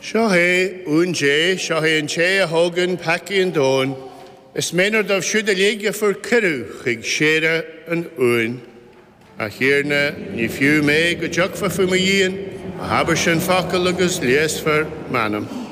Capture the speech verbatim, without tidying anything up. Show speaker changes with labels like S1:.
S1: Seo é uan Dé, seo é an té a thógann peacaí an domhain, Is méanar dóibh siúd uilig a fuair cuireadh chuig séire an uain. A Thiarna, ní fiú mé go dtiocfá faoi mo dhíon, ach abair an focal agus leigheasfar m'anam.